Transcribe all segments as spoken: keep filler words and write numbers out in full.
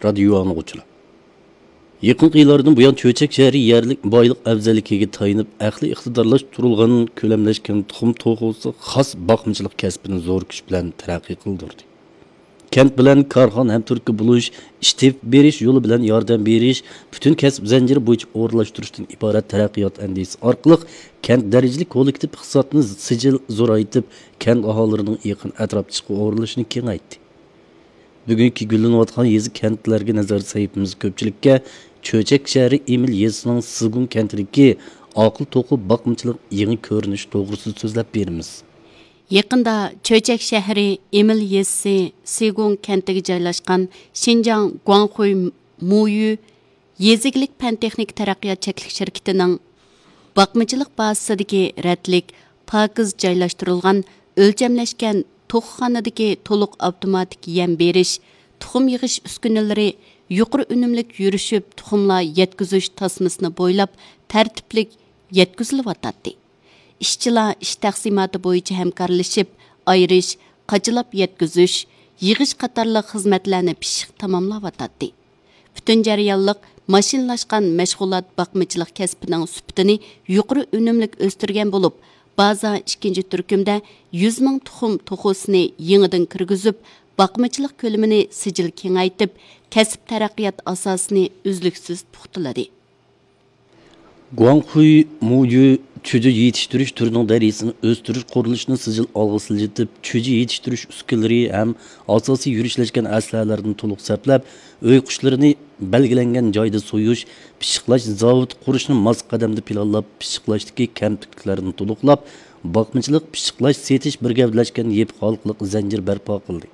رادىيو ئاڭلىغۇچىلار! يېقىنقى يىللاردىن بۇيان، چۆچەك شەھىرى يەرلىك بايلىق ئەۋزەللىكىگە تايىنىپ، ئەقلىي ئىقتىدارلاشتۇرۇلغان، كۆلەملەشكەن تۇخۇم توخۇسى خاس باقمىچىلىق كەسپىنى زور كۈچ بىلەن تەرەققىي قىلدۇردى. كەنت بىلەن كارخانا ھەمتۈرتكە بولۇش، ئىش تېپىپ بېرىش يولى بىلەن ياردەم بېرىش، پۈتۈن كەسىپ زەنجىرى بويىچە ئورۇنلاشتۇرۇشتىن ئىبارەت تەرەققىيات ئەندىزىسى ئارقىلىق كەنت دەرىجىلىك كوللېكتىپ ئىقتىسادنى سىجىل زورايتىپ، كەنت ئاھالىلىرىنىڭ يېقىن ئەتراپتا ئىشقا ئورۇنلىشىشىنى كېڭەيتتى. بۈگۈنكى گۈللىنىۋاتقان يېزا، كەنتلەرگە نەزەر سەھىپىمىز كۆپچىلىككە چۆچەك شەھىرى ئىمىل يېزىسىنىڭ سىگۇڭ كەنتىدىكى ئاقىل توخۇ باقمىچىلىق يېڭى كۆرۈنۈشى توغرىسىدا سۆزلەپ بېرىمىز. يېقىندا چۆچەك شەھىرى ئىمىل يېزىسى سىگۇڭ كەنتىگە جايلاشقان شىنجاڭ گۇاڭخۇي مۇيۈ يېزا ئىگىلىك پەن-تېخنىكا تەرەققىيات چەكلىك شىركىتىنىڭ باقمىچىلىق بازىسىدىكى رەتلىك، پاكىز جايلاشتۇرۇلغان ئۆلچەملەشكەن توخۇخانىدىكى تولۇق ئاپتوماتىك يەم بېرىش، تۇخۇم يىغىش ئۈسكۈنىلىرى يۇقىرى ئۈنۈملۈك يۈرۈشۈپ، تۇخۇملار يەتكۈزۈش تاسمىسىنى بويلاپ تەرتىپلىك يەتكۈزۈلۈۋاتاتتى. ئىشچىلار ئىش تەقسىماتى بويىچە ھەمكارلىشىپ، ئايرىش، قاچىلاپ يەتكۈزۈش، يىغىش قاتارلىق خىزمەتلەرنى پىششىق تاماملاۋاتاتتى. پۈتۈن جەريانلىق ماشىنىلاشقان مەشغۇلات باقمىچىلىق كەسپىنىڭ سۈپىتىنى يۇقىرى ئۈنۈملۈك ئۆستۈرگەن بولۇپ، بازا ئىككىنچى تۈركۈمدە يۈز مىڭ تۇخۇم توخۇسىنى يېڭىدىن كىرگۈزۈپ، باقمىچىلىق كۆلىمىنى سىجىل كېڭەيتىپ، كەسىپ تەرەققىيات ئاساسىنى ئۈزلۈكسىز پۇختىلىدى. گۇاڭخۇي مۇيۈ چۈجە يېتىشتۈرۈش تۈرىنىڭ دەرىجىسىنى ئۆستۈرۈش قۇرۇلۇشىنى سىجىل ئالغا سىلجىتىپ، چۈجە يېتىشتۈرۈش ئۈسكۈنىلىرى ھەم ئاساسىي يۈرۈشلەشكەن ئەسلىھەلەرنى تولۇق سەپلەپ، ئۆي قۇشلىرىنى بەلگىلەنگەن جايدا سويۇش، پىششىقلاش زاۋۇتى قۇرۇشنى ماس قەدەمدە پىلانلاپ، پىششىقلاشتىكى كەمتۈكلۈكلەرنى تولۇقلاپ، باقمىچىلىق، پىششىقلاش، سېتىش بىر گەۋدىلەشكەن يېپىق ھالقىلىق زەنجىر بەرپا قىلدى.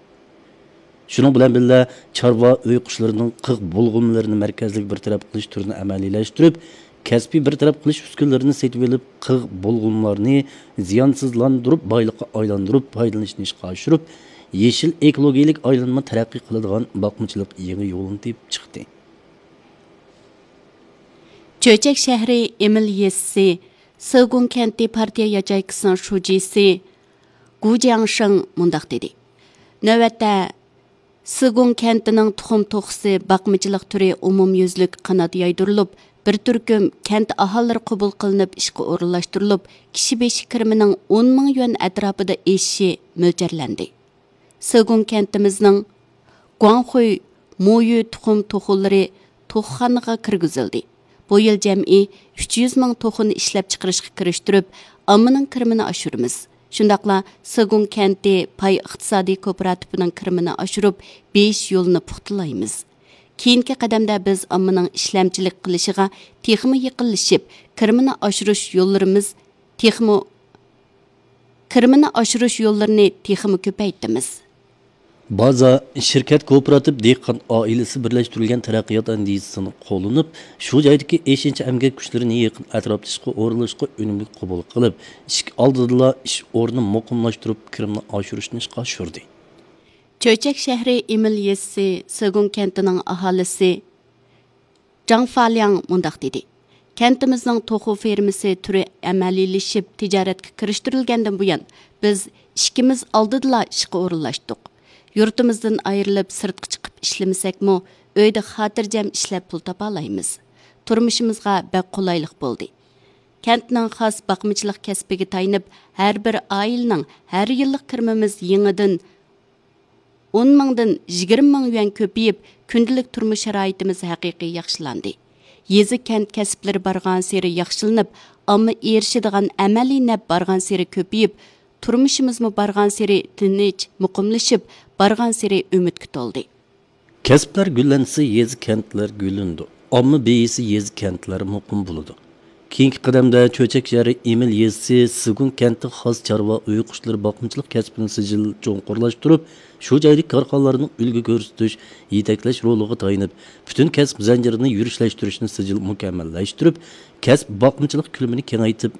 شۇنىڭ بىلەن بىللە، چارۋا ئۆي قۇشلىرىنىڭ قىغ بۇلغىمىلىرىنى مەركەزلىك بىر تەرەپ قىلىش تۈرىنى ئەمەلىيلەشتۈرۈپ، كەسپىي بىر تەرەپ قىلىش ئۈسكۈنىلىرىنى سېتىۋېلىپ، قىغ بۇلغىمىلارنى زىيانسىزلاندۇرۇپ، بايلىققا ئايلاندۇرۇپ پايدىلىنىشنى ئىشقا ئاشۇرۇپ، يېشىل ئېكولوگىيەلىك ئايلانما تەرەققىي قىلىدىغان باقمىچىلىق يېڭى يولىنى تېپىپ چىقتى. چۆچەك شەھىرى ئېمىل يېزىسى سېگۇڭ كەنتى پارتىيە ياچېيكىسىنىڭ شۇجىسى گۇ جياڭشېڭ مۇنداق دېدى: نۆۋەتتە سېگۇڭ كەنتىنىڭ تۇخۇم توخۇسى باقمىچىلىق تۈرى ئومۇميۈزلۈك قانات يايدۇرۇلۇپ، بىر تۈركۈم كەنت ئاھالىلىرى قوبۇل قىلىنىپ ئىشقا ئورۇنلاشتۇرۇلۇپ، كىشى بېشى كىرىمىنىڭ ئون مىڭ يۈەن ئەتراپىدا ئېشىشى مۆلچەرلەندى. سېگۇڭ كەنتىمىزنىڭ گۇاڭخۇي مۇيۈ تۇخۇم توخۇلىرى توخۇخانىغا كىرگۈزۈلدى. بۇ يىل جەمئىي ئۈچ يۈز مىڭ توخۇنى ئىشلەپچىقىرىشقا كىرىشتۈرۈپ، ئاممىنىڭ كىرىمىنى ئاشۇرىمىز. شۇنداقلا سېگۇڭ كەنتى پاي ئىقتىسادىي كوپىراتىپىنىڭ كىرىمىنى ئاشۇرۇپ، بېيىش يولىنى پۇختىلايمىز. كېيىنكى قەدەمدە بىز ئاممىنىڭ ئىشلەمچىلىك قىلىشىغا تېخىمۇ يېقىنلىشىپ، كىرىمىنى ئاشۇرۇش يوللىرىمىز تېخىمۇ، كىرىمىنى ئاشۇرۇش يوللىرىنى تېخىمۇ كۆپەيتىمىز. بازا، شىركەت، كوپىراتىپ، دېھقان ئائىلىسى بىرلەشتۈرۈلگەن تەرەققىيات ئەندىزىسىنى قوللىنىپ، شۇ جايدىكى ئېشىنچا ئەمگەك كۈچلىرىنى يېقىن ئەتراپتا ئىشقا ئورۇنلاشقا ئۈنۈملۈك قوبۇل قىلىپ، ئىشىك ئالدىدىلا ئىش ئورنىنى مۇقىملاشتۇرۇپ، كىرىمنى ئاشۇرۇشنى ئىشقا ئاشۇردى. چۆچەك شەھىرى ئىمىل يېزىسى سېگۇڭ كەنتىنىڭ ئاھالىسى جاڭ فالياڭ مۇنداق دېدى: كەنتىمىزنىڭ توخۇ فېرمىسى تۈرى ئەمەلىيلىشىپ تىجارەتكە كىرىشتۈرۈلگەندىن بۇيان، بىز ئىشىكىمىز ئالدىدىلا ئىشقا ئورۇنلاشتۇق. يۇرتىمىزدىن ئايرىلىپ سىرتقا چىقىپ ئىشلىمىسەكمۇ، ئۆيدە خاتىرجەم ئىشلەپ پۇل تاپالايمىز. تۇرمۇشىمىزغا بەك قولايلىق بولدى. كەنتنىڭ خاس باقمىچىلىق كەسپىگە تايىنىپ، ھەر بىر ئائىلىنىڭ ھەر يىللىق كىرىمىمىز يېڭىدىن ئون مىڭدىن يىگىرمە مىڭ يۈەن كۆپىيىپ، كۈندىلىك تۇرمۇش شارائىتىمىز ھەقىقىي ياخشىلاندى. يېزا، كەنت كەسىپلىرى بارغانسېرى ياخشىلىنىپ، ئامما ئېرىشىدىغان ئەمەلىي نەپ بارغانسېرى كۆپىيىپ، تۇرمۇشىمىزمۇ بارغانسېرى تىنچ، مۇقىملىشىپ، بارغانسېرى ئۈمىدكە تولدى. كەسىپلەر گۈللەنسە، يېزا، كەنتلەر گۈللىنىدۇ. ئامما بېيىسە، يېزا، كەنتلەر مۇقىم بولىدۇ. كېيىنكى قەدەمدە چۆچەك شەھىرى ئىمىل يېزىسى سېگۇڭ كەنتى خاس چارۋا ئۆي قۇشلىرى باقمىچىلىق كەسپىنى سىجىل چوڭقۇرلاشتۇرۇپ، شۇ جايدىكى كارخانىلارنىڭ ئۈلگە كۆرسىتىش، يېتەكلەش رولىغا تايىنىپ، پۈتۈن كەسىپ زەنجىرىنى يۈرۈشلەشتۈرۈشنى سىجىل مۇكەممەللەشتۈرۈپ، كەسىپ باقمىچىلىق كۆلىمىنى كېڭەيتىپ،